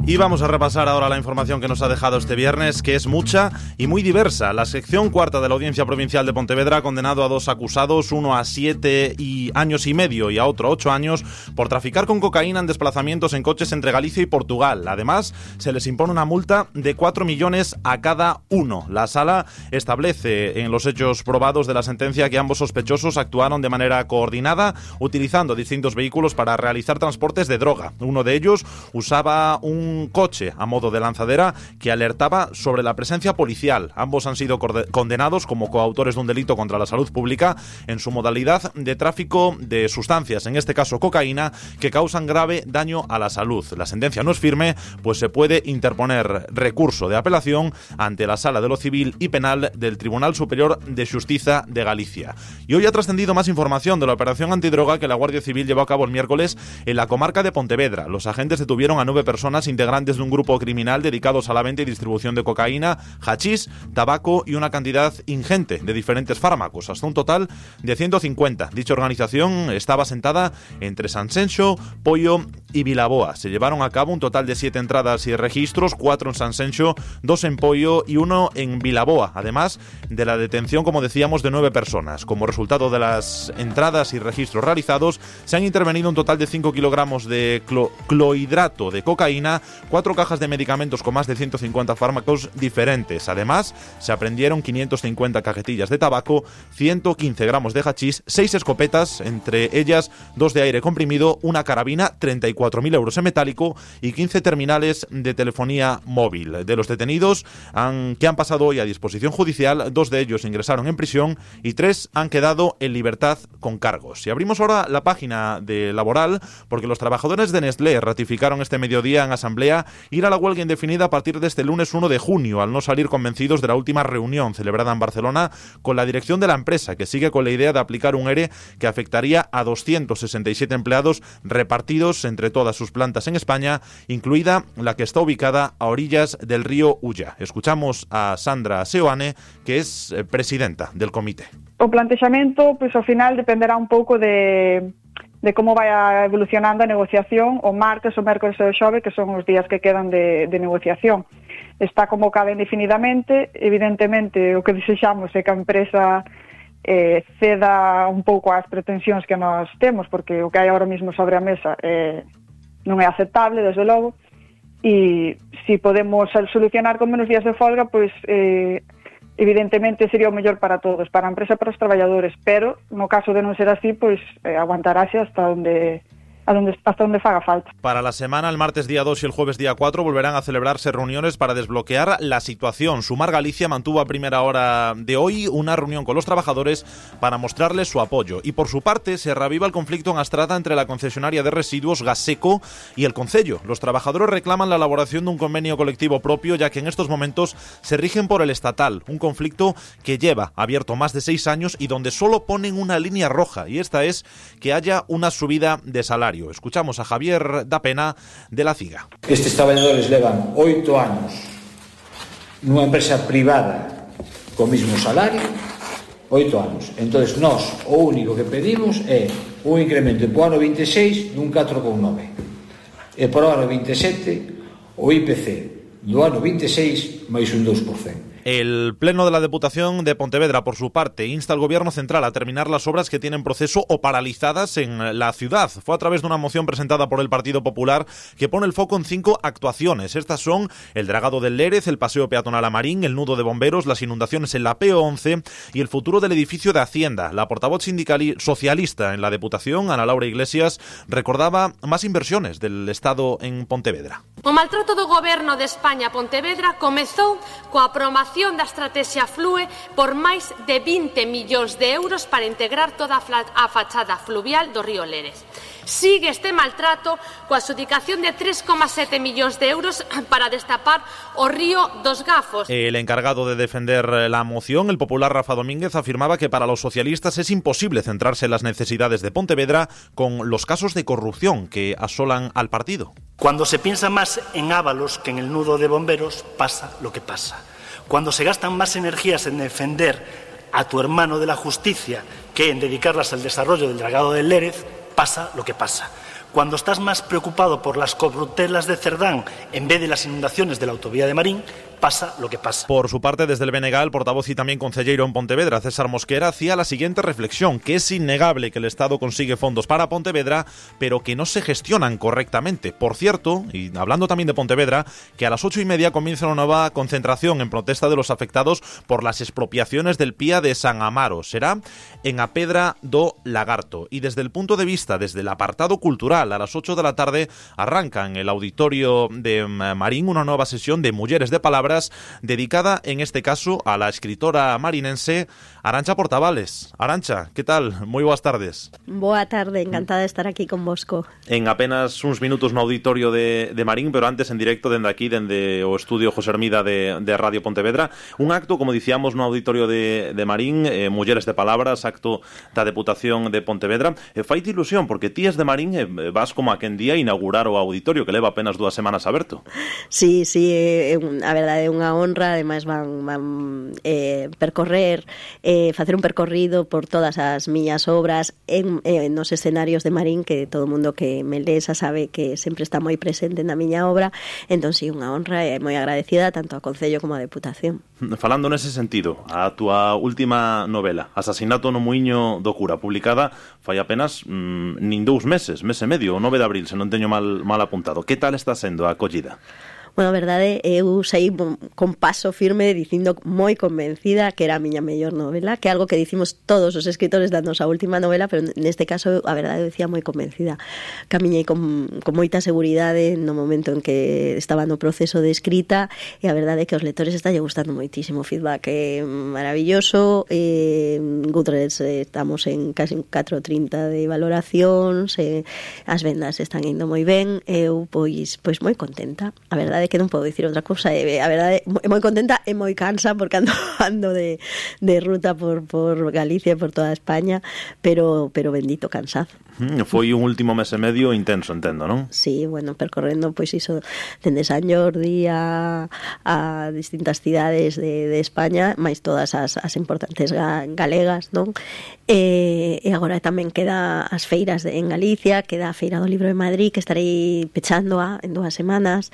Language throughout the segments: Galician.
Y vamos a repasar ahora la información que nos ha dejado este viernes, que es mucha y muy diversa. La sección cuarta de la Audiencia Provincial de Pontevedra ha condenado a 2 acusados, uno a 7 años y medio y a otro 8 años, por traficar con cocaína en desplazamientos en coches entre Galicia y Portugal. Además, se les impone una multa de 4 millones a cada uno. La sala establece en los hechos probados de la sentencia que ambos sospechosos actuaron de manera coordinada, utilizando distintos vehículos para realizar transportes de droga. Uno de ellos usaba un coche a modo de lanzadera que alertaba sobre la presencia policial. Ambos han sido condenados como coautores de un delito contra la salud pública en su modalidad de tráfico de sustancias, en este caso cocaína, que causan grave daño a la salud. La sentencia no es firme, pues se puede interponer recurso de apelación ante la Sala de lo Civil y Penal del Tribunal Superior de Xustiza de Galicia. Y hoy ha trascendido más información de la operación antidroga que la Guardia Civil llevó a cabo el miércoles en la comarca de Pontevedra. Los agentes detuvieron a 9 personas integrantes de un grupo criminal dedicados a la venta y distribución de cocaína, hachís, tabaco y una cantidad ingente de diferentes fármacos, hasta un total de 150. Dicha organización estaba asentada entre Sanxenxo, Poio y Vilaboa. Se llevaron a cabo un total de 7 entradas y registros, 4 en Sanxenxo, 2 en Poio y 1 en Vilaboa, además de la detención, como decíamos, de 9 personas. Como resultado de las entradas y registros realizados, se han intervenido un total de 5 kilogramos de clohidrato de cocaína, 4 cajas de medicamentos con más de 150 fármacos diferentes. Además, se apreendieron 550 cajetillas de tabaco, 115 gramos de hachís, 6 escopetas, entre ellas 2 de aire comprimido, una carabina, 34.000 euros en metálico y 15 terminales de telefonía móvil. De los detenidos que han pasado hoy a disposición judicial, 2 de ellos ingresaron en prisión y 3 han quedado en libertad con cargos. Y abrimos ahora la página de laboral, porque los trabajadores de Nestlé ratificaron este mediodía en asamblea ir a la huelga indefinida a partir de este lunes 1 de junio, al no salir convencidos de la última reunión celebrada en Barcelona con la dirección de la empresa, que sigue con la idea de aplicar un ERE que afectaría a 267 empleados repartidos entre todas sus plantas en España, incluida la que está ubicada a orillas del río Ulla. Escuchamos a Sandra Seoane, que es presidenta del comité. O plantexamento, pois ao final dependerá un pouco de como vai evolucionando a negociación o martes, o mércores e o xove, que son os días que quedan de negociación. Está convocada indefinidamente. Evidentemente, o que desexamos é que a empresa ceda un pouco ás pretensións que nós temos, porque o que hai ahora mesmo sobre a mesa non é aceptable, desde logo, e se podemos solucionar con menos días de folga, pois evidentemente sería o mellor para todos, para a empresa e para os traballadores, pero no caso de non ser así, pois aguantarase hasta onde faga falta. Para la semana, el martes día 2 y el jueves día 4 volverán a celebrarse reuniones para desbloquear la situación. Sumar Galicia mantuvo a primera hora de hoy una reunión con los trabajadores para mostrarles su apoyo. Y por su parte, se reaviva el conflicto en Astrada entre la concesionaria de residuos Gaseco y el concello. Los trabajadores reclaman la elaboración de un convenio colectivo propio, ya que en estos momentos se rigen por el estatal. Un conflicto que lleva abierto más de 6 años y donde solo ponen una línea roja, y esta es que haya una subida de salario. Escuchamos a Javier da Pena de la CIGA. Estes traballadores levan 8 anos nunha empresa privada co mismo salario, 8 anos. Entonces, nós o único que pedimos é un incremento po ano 26 dun 4,9 e por ano 27 o IPC do ano 26 máis un 2%. El Pleno de la Deputación de Pontevedra, por su parte, insta al Gobierno central a terminar las obras que tienen proceso o paralizadas en la ciudad. Fue a través de una moción presentada por el Partido Popular que pone el foco en 5 actuaciones. Estas son el dragado del Lérez, el paseo peatonal a Marín, el nudo de bomberos, las inundaciones en la PO11 y el futuro del edificio de Hacienda. La portavoz socialista en la Deputación, Ana Laura Iglesias, recordaba más inversiones del Estado en Pontevedra. O maltrato do Goberno de España a Pontevedra comezou coa aprobación da estrategia Flue por máis de 20 millóns de euros para integrar toda a fachada fluvial do río Lérez. Sigue este maltrato coa adxudicación de 3,7 millóns de euros para destapar o río dos Gafos. El encargado de defender la moción, el popular Rafa Domínguez, afirmaba que para los socialistas es imposible centrarse en las necesidades de Pontevedra con los casos de corrupción que asolan al partido. Cuando se piensa más en Ábalos que en el nudo de bomberos, pasa lo que pasa. Cuando se gastan más energías en defender a tu hermano de la justicia que en dedicarlas al desarrollo del dragado del Lérez, pasa lo que pasa. Cuando estás más preocupado por las corruptelas de Cerdán en vez de las inundaciones de la autovía de Marín, pasa lo que pasa. Por su parte, desde el BNG, el portavoz y también concelleiro en Pontevedra, César Mosquera, hacía la siguiente reflexión, que es innegable que el Estado consigue fondos para Pontevedra, pero que no se gestionan correctamente. Por cierto, y hablando también de Pontevedra, que a las 8:30 comienza una nueva concentración en protesta de los afectados por las expropiaciones del Pía de San Amaro. Será en a Pedra do Lagarto. Y desde el punto de vista, desde el apartado cultural, a las 8 de la tarde arranca en el auditorio de Marín una nueva sesión de Mujeres de Palabras, dedicada en este caso a la escritora marinense Arantxa Portavales. Arantxa, ¿qué tal? Moi boas tardes. Boa tarde, encantada de estar aquí con vosco. En apenas uns minutos no auditorio de Marín, pero antes en directo dende aquí, dende o estudio José Hermida de Radio Pontevedra, un acto, como dicíamos, no auditorio de Marín, Mulleres de Palabras, acto da Deputación de Pontevedra. Faite ilusión, porque ti es de Marín e vas como a quen día inaugurar o auditorio, que leva apenas 2 semanas aberto. Sí, a verdade é unha honra, ademais van percorrer, facer un percorrido por todas as miñas obras nos escenarios de Marín, que todo o mundo que me lesa sabe que sempre está moi presente na miña obra, entón sí, unha honra e moi agradecida tanto ao Concello como á Deputación. Falando nese sentido, a túa última novela, Asasinato no Muiño do Cura, publicada fai apenas nin 2 meses, mes e medio, o 9 de abril, se non teño mal apuntado. Que tal está sendo a acollida? Bueno, a verdade, eu saí con paso firme dicindo moi convencida que era a miña mellor novela, que é algo que dicimos todos os escritores da nosa última novela, pero neste caso, a verdade, eu decía moi convencida. Camiñei con moita seguridade no momento en que estaba no proceso de escrita, e a verdade é que os lectores está gustando moitísimo, feedback maravilloso, Goodreads estamos en casi 4,30 de valoracións, as vendas están indo moi ben, eu pois moi contenta, a verdade que non podo dicir outra cousa, a verdade é moi contenta e moi cansa porque ando de ruta por Galicia e por toda España, pero bendito cansado. Foi un último mes e medio intenso, entendo, non? Sí, bueno, percorrendo pois iso dende San Jordi a distintas cidades de España, máis todas as importantes galegas, non? E agora tamén queda as feiras en Galicia, queda a Feira do Libro de Madrid, que estarei pechando en 2 semanas,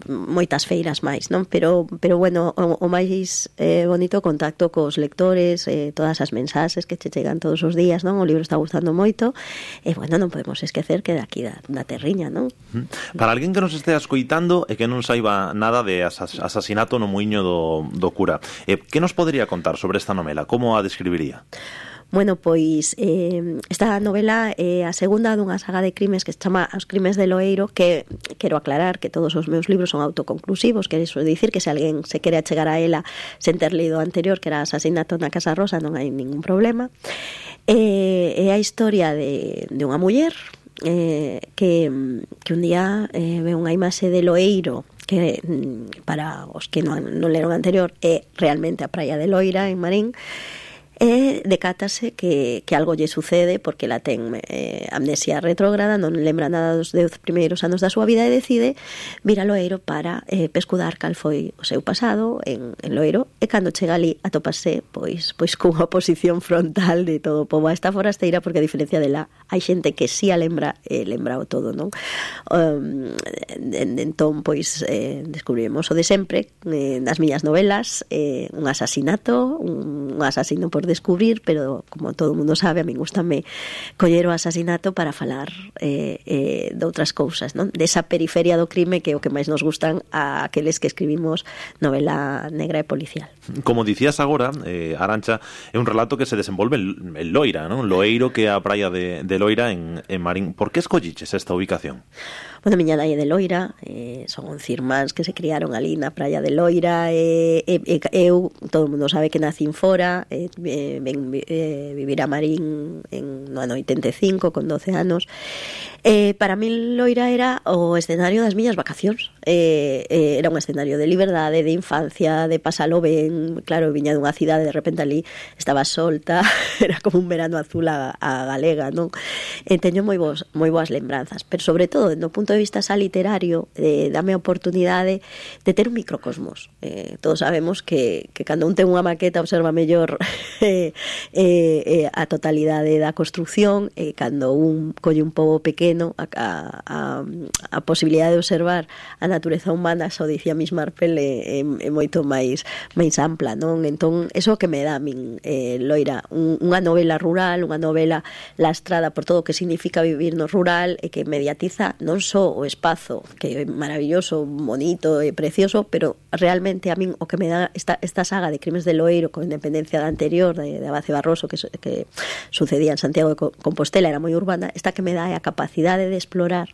moitas feiras máis, non? Pero bueno, o máis bonito contacto cos lectores, todas as mensaxes que che chegan todos os días, non? O libro está gustando moito, e bueno, non podemos esquecer que daqui da terriña, non? Para alguén que nos estea escoitando e que non saiba nada de Asasinato no Muiño do Cura, que nos podería contar sobre esta novela? Como a describiría? Bueno, pois esta novela é a segunda dunha saga de crimes que se chama Os Crimes de Loeiro, que quero aclarar que todos os meus libros son autoconclusivos, que iso dicir que se alguén se quere achegar a ela sen ter lido o anterior, que era Asasinato na Casa Rosa, non hai ningún problema. É a historia de unha muller que un día ve unha imaxe de Loeiro, que para os que non leron anterior é realmente a praia de Loira en Marín, e decátase que algo lle sucede porque la ten amnesia retrógrada, non lembra nada dos 10 primeiros anos da súa vida e decide vir a Loeiro para pescudar cal foi o seu pasado en Loeiro, e cando chega ali atopase pois cunha oposición frontal de todo o pobo a esta forasteira, porque a diferencia dela hai xente que si a lembra o todo, non? Entón, pois descubrimos o de sempre nas miñas novelas, un asasinato, un asasino por descubrir, pero como todo o mundo sabe, a min gustame coller o asasinato para falar de outras cousas, non? Desa periferia do crime que é o que máis nos gustan a aqueles que escribimos novela negra e policial. Como dicías agora, Arantxa, é un relato que se desenvolve en Loira, non? Loeiro, que é a praia de Loira en Marín. Por que escolliches esta ubicación? Bueno, miña nai é de Loira, son 11 irmáns que se criaron ali na praia de Loira, eu, todo o mundo sabe que nacín fora, ven vivir a Marín no ano 85, con 12 anos. Para mí Loira era o escenario das miñas vacacións, era un escenario de liberdade, de infancia, de pasalo ben. Claro, viña dunha cidade, de repente ali estaba solta, era como un verano azul a galega, non? Teño moi boas lembranzas, pero sobre todo, no punto de vista xa literario, dame a oportunidade de ter un microcosmos. Todos sabemos que cando un ten unha maqueta observa mellor a totalidade da construción, cando un colle un pobo pequeno a posibilidade de observar a natureza humana, xa o dicía Miss Marple, é moito máis ampla, non? Entón, eso que me dá a min, Loira, unha novela rural, unha novela lastrada por todo o que significa vivir no rural e que mediatiza non só o espazo, que é maravilloso, bonito e precioso, pero realmente a min o que me dá esta saga de Crimes de Loeiro, con independencia da anterior, de Abace Barroso, que sucedía en Santiago de Compostela, era moi urbana, esta que me dá é a capacidade de explorar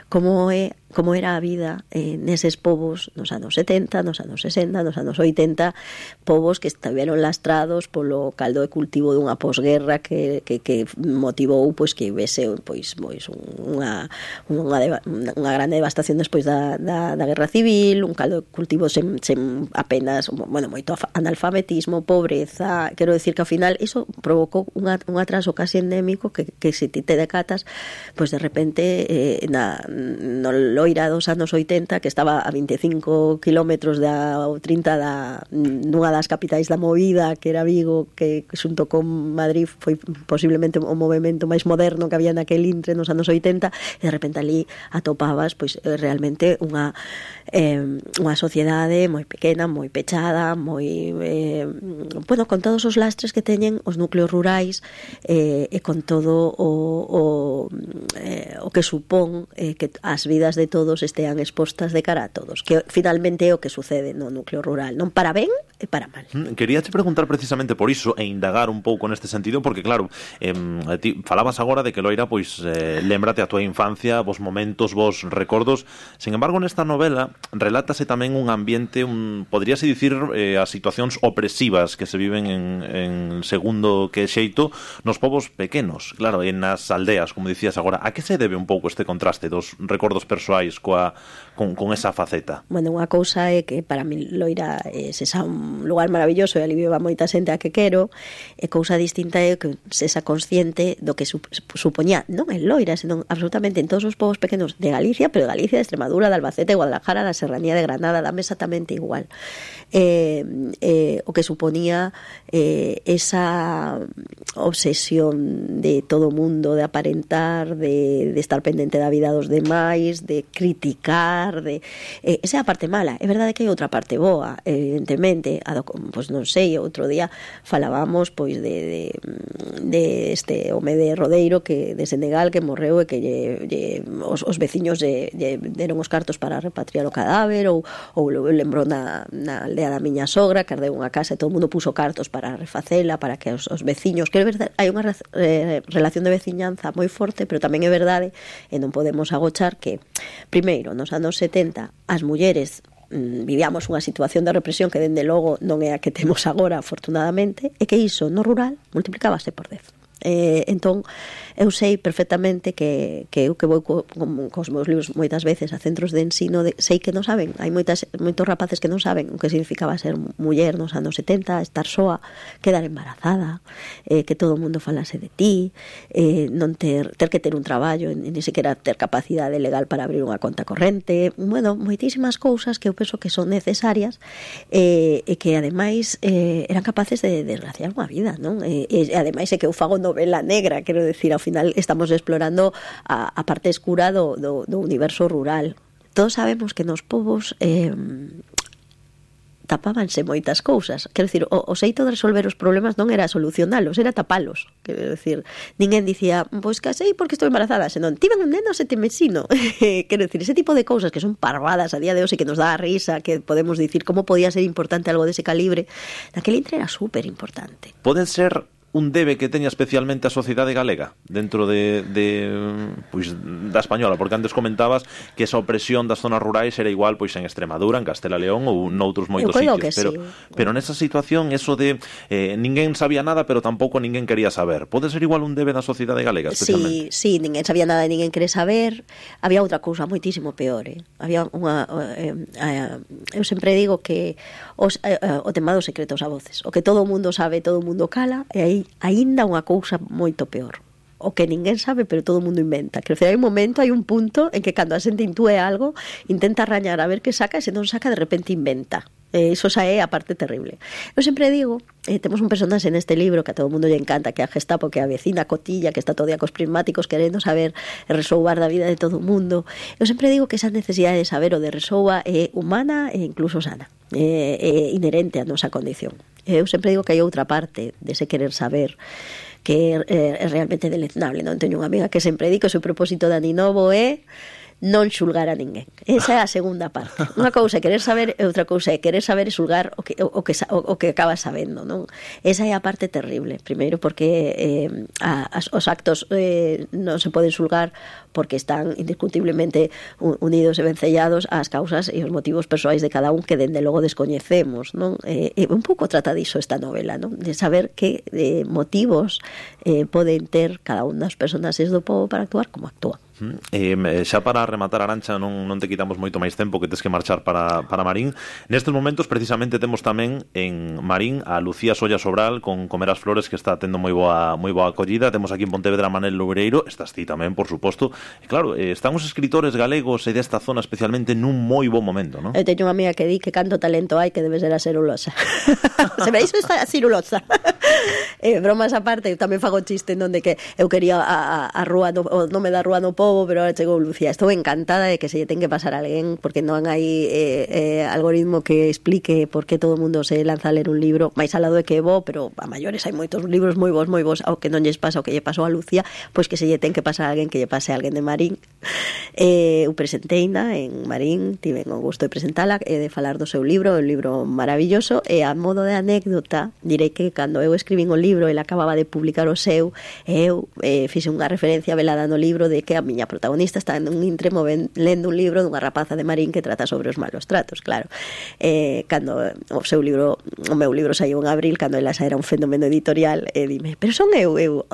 como era a vida neses povos nos anos 70, nos anos 60, nos anos 80, povos que estiveron lastrados polo caldo de cultivo dunha posguerra que motivou pois que houvese pois unha grande devastación despois da guerra civil, un caldo de cultivo sen apenas, moito analfabetismo, pobreza. Quero decir que ao final iso provocou un atraso casi endémico que se ti te decatas, pois de repente no Loira dos anos 80, que estaba a 25 kilómetros ou 30 nunha das capitais da movida, que era Vigo, que xunto con Madrid foi posiblemente o movimento máis moderno que había naquel intre nos anos 80, e de repente ali atopabas pois realmente unha sociedade moi pequena, moi pechada, moi con todos os lastres que teñen os núcleos rurais, e con todo o que supón que as vidas de todos estean expostas de cara a todos, que finalmente é o que sucede no núcleo rural, non para ben e para mal. Quería te preguntar precisamente por iso e indagar un pouco neste sentido, porque claro, ti falabas agora de que Loira pois lémbrate a tua infancia, vos momentos, vos recordos. Sin embargo, nesta novela relátase tamén un ambiente, podríase dicir, as situacións opresivas que se viven en segundo que xeito nos povos pequenos, claro, en nas aldeas, como dicías agora. A que se debe un pouco este contraste dos recordos persoais con esa faceta? Bueno, unha cousa é que para mí Loira é un lugar maravilloso e ali viva moita xente a que quero, e cousa distinta é que sexa consciente do que supoñía non en Loira, senón absolutamente en todos os povos pequenos de Galicia, pero de Galicia, de Extremadura, de Albacete, de Guadalajara, da Serranía de Granada, dame exactamente igual. O que suponía esa obsesión de todo o mundo, de aparentar, de estar pendente da vida dos demais, de criticar, esa é a parte mala. É verdade que hai outra parte boa, evidentemente, pois non sei, outro día falábamos pois de este home de Rodeiro, que de Senegal, que morreu e que os veciños deron os cartos para repatriar o cadáver, ou lembrou na aldea da miña sogra, que ardeu unha casa e todo o mundo puso cartos para refacela, para que os veciños, que é verdade, hai unha relación de veciñanza moi forte, pero tamén é verdade, e non podemos agochar que, primeiro, nos anos 70, as mulleres vivíamos unha situación de represión que dende logo non é a que temos agora, afortunadamente, e que iso no rural multiplicábase por 10. Entón eu sei perfectamente que eu que vou cos meus libros moitas veces a centros de ensino, sei que non saben, hai moitos rapaces que non saben o que significaba ser muller nos anos 70, estar soa, quedar embarazada, que todo o mundo falase de ti, non ter que ter un traballo, ni sequera ter capacidade legal para abrir unha conta corrente, moitísimas cousas que eu penso que son necesarias, e que ademais eran capaces de desgraciar unha vida, non? E ademais é que eu fago novela negra, quero decir, ao final estamos explorando a parte escura do universo rural. Todos sabemos que nos povos tapábanse moitas cousas. Quero dicir, o xeito de resolver os problemas non era solucionalos, era tapalos. Quero dicir, ninguén dicía, pois casei porque estou embarazada, senón, tiven un neno se te mesino. Quero dicir, ese tipo de cousas que son parvadas a día de hoxe, que nos dá a risa, que podemos dicir como podía ser importante algo dese calibre, naquele intre era super importante. Poden ser un debe que teña especialmente a sociedade galega dentro pois da española, porque antes comentabas que esa opresión das zonas rurais era igual pois en Extremadura, en Castela León ou noutros moitos sitios, pero nesa situación eso de ninguén sabía nada, pero tampouco ninguén quería saber. Pode ser igual un debe da sociedade galega, especialmente? Sí, ninguén sabía nada e ninguén quere saber. Había outra cousa moitísimo peor, había unha eu sempre digo que o tema dos secretos a voces, o que todo o mundo sabe, todo o mundo cala, e aí aínda unha cousa moito peor, o que ninguén sabe pero todo o mundo inventa. Quero dizer, hai un punto en que cando a xente intúe algo intenta arañar a ver que saca, e se non saca de repente inventa. Iso xa é a parte terrible. Eu sempre digo, temos un personaxe neste libro que a todo o mundo lle encanta, que é a Gestapo, que é a vecina cotilla, que está todo día cos prismáticos querendo saber e resoubar da vida de todo o mundo. Eu sempre digo que esa necesidade de saber o de resouba é humana e incluso sana, é inherente á nosa condición. Eu sempre digo que hai outra parte dese querer saber que é realmente deleznable, non? Teño unha amiga que sempre di que o seu propósito de aninovo é non xulgar a ninguén. Esa é a segunda parte. Unha cousa é querer saber e outra cousa é querer saber e xulgar o que acabas sabendo, non? Esa é a parte terrible. Primeiro porque os actos non se poden xulgar porque están indiscutiblemente unidos e vencellados ás causas e os motivos persoais de cada un que dende logo descoñecemos, non? Un pouco trata diso esta novela, non? De saber que motivos poden ter cada un das personaxes do pobo para actuar como actúa. Xa para rematar, Arantxa, non te quitamos moito máis tempo, que tes que marchar para Marín. Nestes momentos precisamente temos tamén en Marín a Lucía Solla Sobral con Comer as Flores, que está tendo moi boa acollida. Temos aquí en Pontevedra a Manel Loureiro, estás ti tamén, por suposto. E claro, están os escritores galegos e desta zona especialmente nun moi bo momento, non? Eu teño unha amiga que di que canto talento hai, que debe ser a celulosa. Se me iso esta celulosa. Bromas aparte, eu tamén fago chiste non de que eu quería a rúa, o nome da rúa no pobo, pero ahora chegou Lucía. Estou encantada de que se lle ten que pasar a alguén, porque non hai algoritmo que explique por que todo o mundo se lanza a ler un libro, máis alado de que é bo, pero a maiores hai moitos libros moi bons, ao que non lles pasa o que lle pasou a Lucía, pois que se lle ten que pasar a alguén, que lle pase a alguén de Marín. Eu presenteina en Marín, tiven o gusto de presentala e de falar do seu libro, un libro maravilloso, e a modo de anécdota direi que cando eu escribín o libro, ele acababa de publicar o seu, e eu fixe unha referencia velada no libro de que a miña protagonista está en un intremo lendo un libro dunha rapaza de Marín que trata sobre os malos tratos, claro. Cando o meu libro saiu en abril, cando ela xa era un fenómeno editorial, dime, pero son eu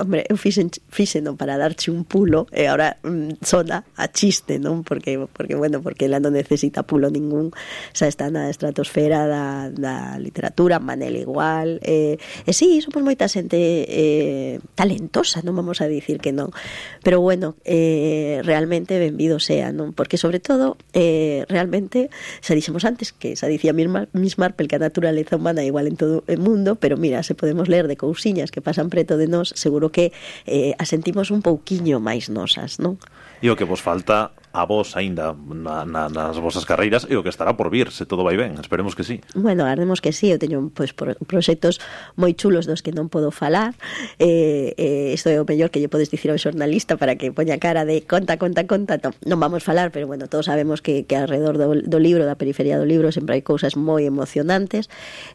fixeno para darche un pulo, e agora sona a chiste, non? Porque ela non necesita pulo ningún, xa está na estratosfera da literatura, Manel igual, sí, somos moita xente talentosa, non vamos a dicir que non, pero bueno, realmente benvido sea, non? Porque sobre todo realmente, xa dixemos antes que xa dicía Miss Marple que a naturaleza humana é igual en todo o mundo, pero mira, se podemos ler de cousiñas que pasan preto de nós, seguro que a sentimos un pouquiño máis nosas, non? E o que vos falta a vos aínda nas vosas carreiras e o que estará por vir, se todo vai ben, esperemos que sí. Bueno, agardemos que sí, eu teño proxectos moi chulos dos que non podo falar, isto é o mellor que lle podes dicir ao xornalista para que poña cara de conta, non vamos falar, pero bueno, todos sabemos que alrededor do libro, da periferia do libro, sempre hai cousas moi emocionantes.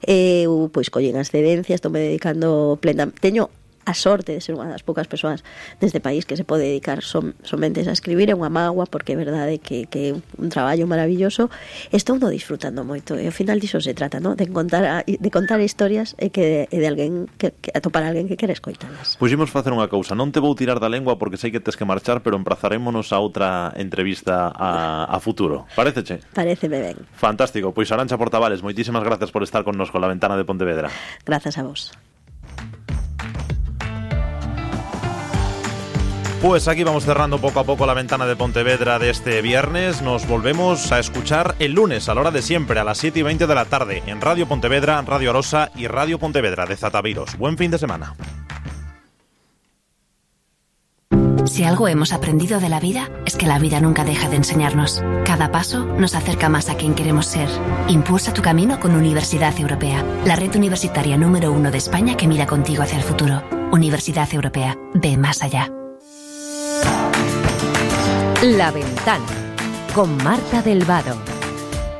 Eu, pois, collín as cedencias, estou me dedicando teño a sorte de ser unha das poucas persoas neste país que se pode dedicar somente a escribir, é unha mágoa, porque é verdade que é un traballo maravilloso. Estou no disfrutando moito, e ao final diso se trata, ¿no? de contar historias e de alguén que atopar a alguén que quere escoitalas. Pois imos facer unha cousa, non te vou tirar da lengua porque sei que tes que marchar, pero emprazarémonos a outra entrevista a futuro. Paréceche? Paréceme ben. Fantástico, pois Arantxa Portavales, moitísimas gracias por estar connosco en La Ventana de Pontevedra. Grazas a vos. Pues aquí vamos cerrando poco a poco la ventana de Pontevedra de este viernes. Nos volvemos a escuchar el lunes a la hora de siempre, a las 7:20 de la tarde, en Radio Pontevedra, Radio Arosa y Radio Pontevedra de Zataviros. Buen fin de semana. Si algo hemos aprendido de la vida, es que la vida nunca deja de enseñarnos. Cada paso nos acerca más a quien queremos ser. Impulsa tu camino con Universidad Europea, la red universitaria número 1 de España que mira contigo hacia el futuro. Universidad Europea, ve más allá. La Ventana, con Marta del Vado.